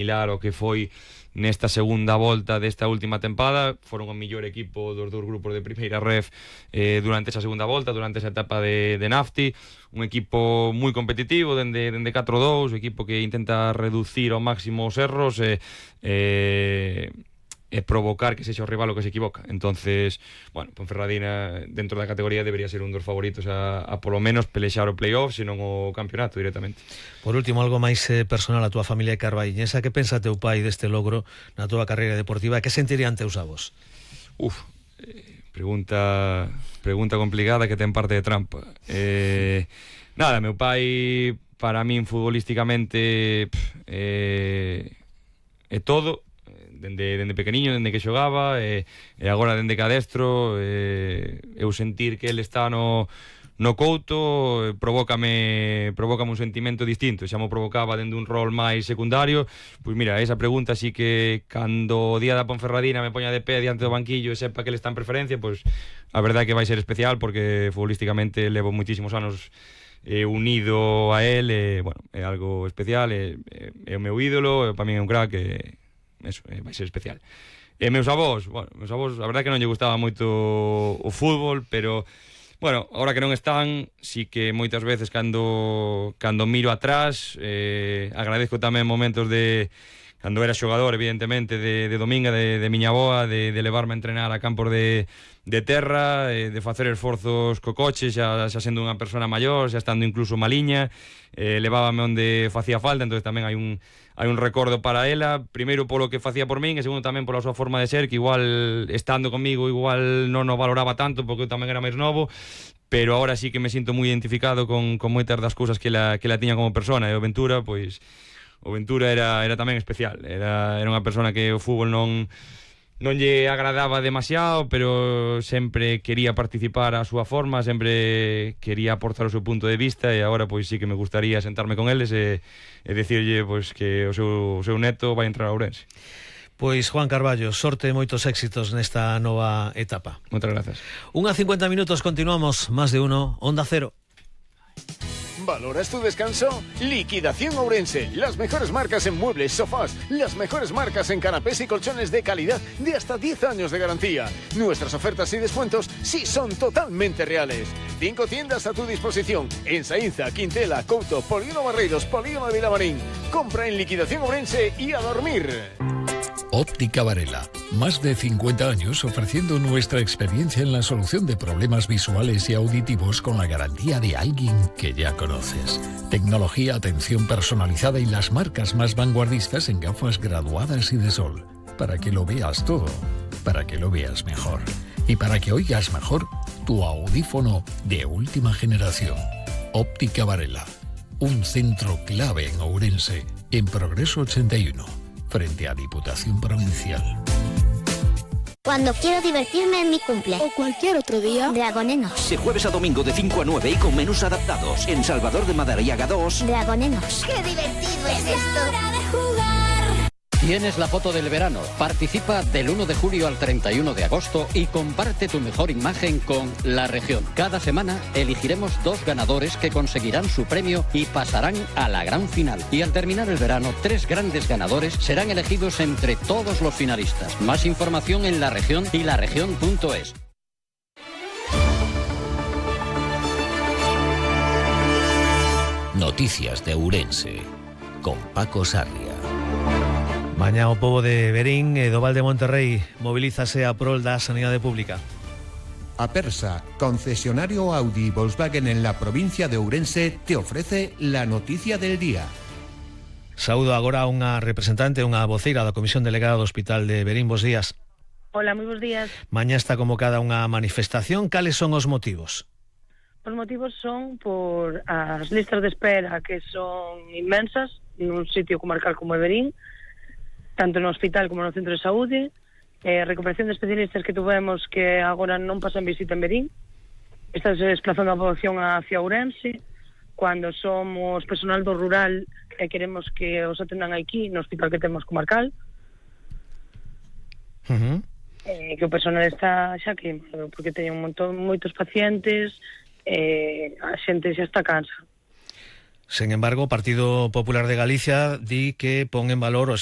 similar ao que foi nesta segunda volta desta última tempada. Foron o mellor equipo dos dous grupos de primeira ref durante esa segunda volta, durante esa etapa de Nafti. Un equipo moi competitivo dende 4-2, un equipo que intenta reducir ao máximo os erros e provocar que sexa o rival o que se equivoca. Entonces, bueno, Ponferradina dentro da categoría debería ser un dos favoritos a polo menos pelexar o playoff, senón o campeonato directamente. Por último, algo máis personal, a túa familia de Carballiñesa, que pensa teu pai deste logro na túa carreira deportiva? Que sentirían teus avós? Pregunta complicada que ten parte de trampa. Nada, meu pai para min futbolísticamente é todo. Dende pequeniño, dende que xogaba, e agora dende que adestro, eu sentir que ele está no couto provócame un sentimento distinto. Xa mo provocaba dende un rol máis secundario. Pois mira, esa pregunta sí que cando o día da Ponferradina me poña de pé diante do banquillo e sepa que ele está en preferencia, pois a verdade é que vai ser especial, porque futbolísticamente levo moitísimos anos unido a él, bueno, é algo especial, é o meu ídolo, para min é un crack, eso, vai ser especial. Meus avós, a verdade que non lle gustaba moito o fútbol, pero bueno, agora que non están, sí que moitas veces cando miro atrás, agradezco tamén momentos de cando era xogador, evidentemente, de dominga, de miña avoa, de levarme a entrenar a campos de terra, de facer esforzos co coche, xa sendo unha persona maior, xa estando incluso maliña, levábame onde facía falta. Entonces tamén hai un recordo para ela, primeiro polo que facía por min, e segundo tamén pola súa forma de ser, que igual estando comigo igual non o valoraba tanto, porque eu tamén era máis novo, pero agora sí que me sinto moi identificado con moitas das cousas que la tiña como persona. E o Ventura, pois o Ventura era tamén especial, era unha persona que o fútbol non lle agradaba demasiado, pero sempre quería participar a súa forma, sempre quería aportar o seu punto de vista, e agora pois sí que me gustaría sentarme con eles e dicirlle pois que o seu neto vai entrar a Ourense. Pois Juan Carballo, sorte e moitos éxitos nesta nova etapa. Moitas grazas. 1:50 minutos, continuamos, Más de Uno, Onda Cero. ¿Valoras tu descanso? Liquidación Ourense. Las mejores marcas en muebles, sofás. Las mejores marcas en canapés y colchones de calidad de hasta 10 años de garantía. Nuestras ofertas y descuentos sí son totalmente reales. 5 tiendas a tu disposición. En Saínza, Quintela, Couto, Polígono Barreiros, Polígono de Vilamarín. Compra en Liquidación Ourense y a dormir. Óptica Varela, más de 50 años ofreciendo nuestra experiencia en la solución de problemas visuales y auditivos con la garantía de alguien que ya conoces. Tecnología, atención personalizada y las marcas más vanguardistas en gafas graduadas y de sol. Para que lo veas todo, para que lo veas mejor. Y para que oigas mejor, tu audífono de última generación. Óptica Varela, un centro clave en Ourense, en Progreso 81. Frente a Diputación Provincial. Cuando quiero divertirme en mi cumple o cualquier otro día, Dragonenos. De jueves a domingo de 5 a 9 y con menús adaptados. En Salvador de Madariaga 2. Dragonenos. ¡Qué divertido es esto! ¡Hora de jugar! Tienes la foto del verano. Participa del 1 de julio al 31 de agosto y comparte tu mejor imagen con La Región. Cada semana elegiremos 2 ganadores que conseguirán su premio y pasarán a la gran final. Y al terminar el verano, 3 grandes ganadores serán elegidos entre todos los finalistas. Más información en La Región y laregion.es. Noticias de Ourense con Paco Sarria. Mañá o pobo de Verín e do Val de Monterrey movilízase a prol da sanidade pública. Apersa, concesionario Audi y Volkswagen en la provincia de Ourense, te ofrece la noticia del día. Saúdo agora a unha representante, unha voceira da Comisión Delegada do Hospital de Verín. Bos días. Hola, moi bos días. Mañá está convocada unha manifestación. Cales son os motivos? Os motivos son por as listas de espera, que son inmensas nun sitio comarcal como Verín, tanto no hospital como no centro de saúde, recuperación de especialistas que tuvemos que agora non pasan visita en Verín, estás desplazando a población hacia Ourense, cando somos personal do rural e queremos que os atendan aquí no hospital que temos comarcal, que o personal está xa queimado, porque teñen moitos pacientes, a xente xa está cansa. Sen embargo, o Partido Popular de Galicia di que pon en valor o